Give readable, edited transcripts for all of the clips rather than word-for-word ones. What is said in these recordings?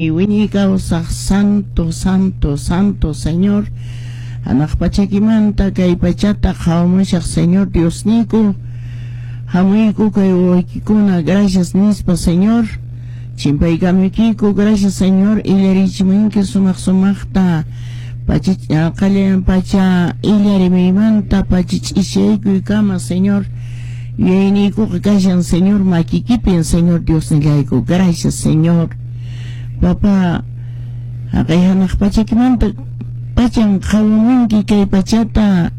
Wiñay kawsaq santo, santo, santo Señor. Hanaq pachakimanta kay pachata qhawamushaq Señor Diosniyku. Hamuyku kay wawaykikuna gracias nispa Señor. Chimpaykamuykiku gracias Señor illarichimunki sumaq sumaqta pacha qallayan pacha illarimuymanta pacha ch'isiykuykama Señor. Yuyayniykuqa kashan Señor makikipin Señor Diosnillayku gracias Señor. Papá, haqay hanaq pachakimanta pachan qhawamunki kay pachata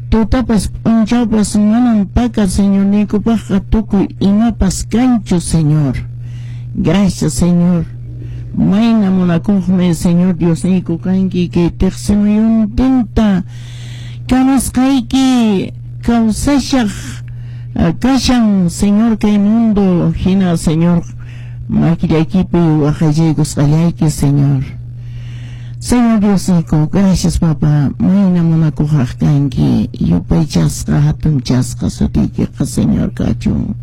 tutapas p'unchawpas manan paka Señorniykupaqqa tukuy imapas kanchu Señor. Gracias Señor. Mayna munakuqmi Señor Diosniyku kanki kay tiqsimuyuntinta kamasqayki kawsashaq kashan Señor kay mundo hina Señor makillaykipi waqaychaykusqallayki Señor. Señor Diosniyku, gracias Papá, mayna munakuqraq kanki, yupaychasqa hatunchasqa sutiykiqa Señor kachun.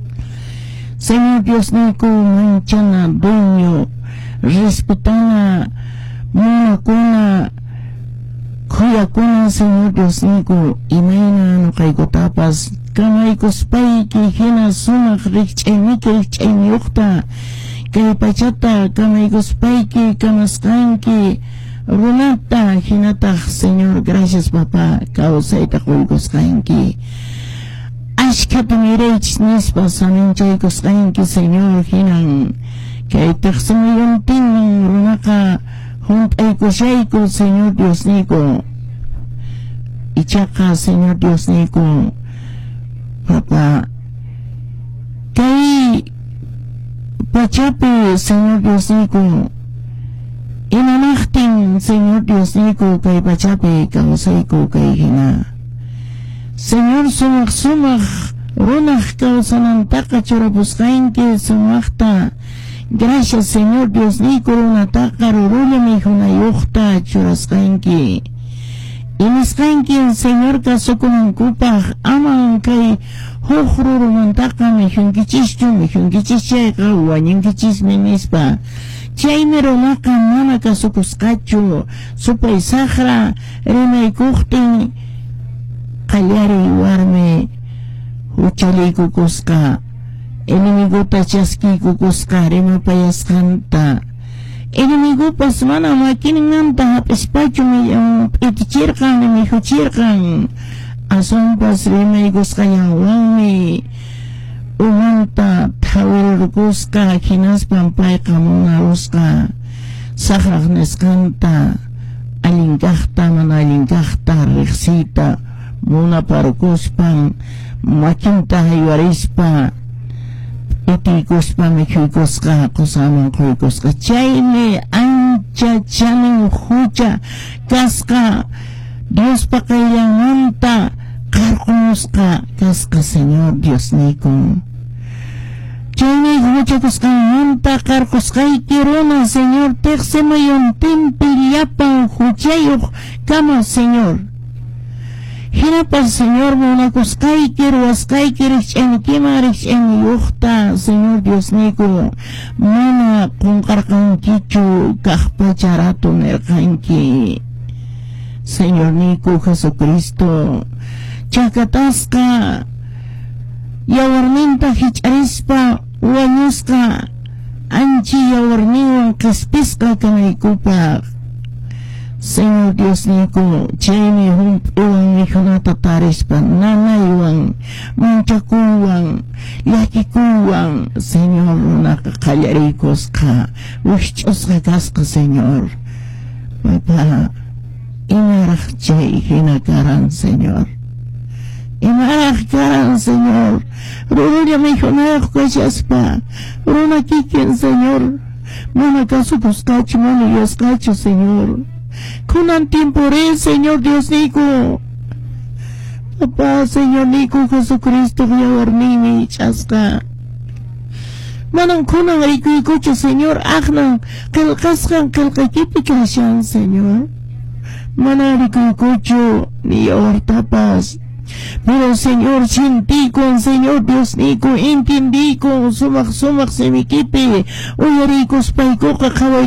Señor Diosniyku, manchana dueño, respetana, munakuna, khuyakuna Señor Diosniyku, imayna nuqaykutapas kamaykuspayki hina sumaq rikch'ayniki rikch'ayniyuqta kay pachata kamaykuspayki kamasqanki runata hinataq Señor gracias Papá kawsayta quykusqanki ashkhata miraychis nispa saminchaykusqanki Señor hinan kay tiqsimuyuntinman runaqa hunt'aykushayku Señor Diosniyku ichaqa Señor Diosniyku Papá kay pachapi Señor Diosniyku imanaqtin Señor Diosniyku kay pachapi kawsayku kay hina Señor sumaq sumaq runaq kawsanantaqa churapusqanki sumaqta gracias Señor Diosniyku runataqa rurulla mikhunayuqta churasqanki inisqanki Señor kasukunankupaq aman kay huk rurumantaqa mikhunkichischu mikhunkichis chayqa wañunkichismi nispa chaymi runaqa mana kasukusqachu supay saqra rimaykuqtin qallariy warmi huchaliykukusqa enemiguta chaskiykukusqa rimapayasqanta enemigupas mana makinmanta hap'ispachu p'itichirqan mikhuchirqan aswanpas rimaykusqallanwanmi umanta thawirirkusqa hinaspan payqa munarusqa saqraq nisqanta allin kaqta mana allin kaqta riqsiyta munaparkuspan makinta haywarispa p'itiykuspa mikhuykusqa qusaman quykusqa chaymi ancha chanin hucha kasqa Diospa qayllanmanta qarqumusqa kasqa Señor Diosniyku. Chaymi huchakusqanmanta qarqusqayki runa Señor tiqsimuyuntinpi llapan huchayuq kama Señor. Hinapas Señor munakusqayki ruwasqayki rikch'aynikiman rikch'ayniyuqta Señor Diosniyku mana qunqarqankichu kaq pacha rato nirqanki. Señorniyku Jesucristo chakatasqa yawarninta hich'arispa wañusqa anchi yawarninwan qhispisqa kanaykupaq Señor Diosniyku chaymi hump'iwan mikhunata tarispa nanaywan manchakuywan llakikuywan Señor runaqa qallariykusqa wikch'usqa kasqa Señor Papá imaraq chay hina karan Señor imaraq karan Señor rurulla mikhunayuq kashaspa runa kikin Señor mana kasukusqachu mana yuyasqachu Señor kunan tiempori Señor Diosniyku Papá Señorniyku Jesucristo yawarninmi ich'asqa manan kunan rikuykuchu Señor aqnan qillqasqan qillqaykipi kashan Señor mana rikuykuchu ni yawartapas Pero Señor, sintikun, Señor Diosniyku, entendikun, sumaq sumaq simikipi uyariykuspaykuqa qhawayku.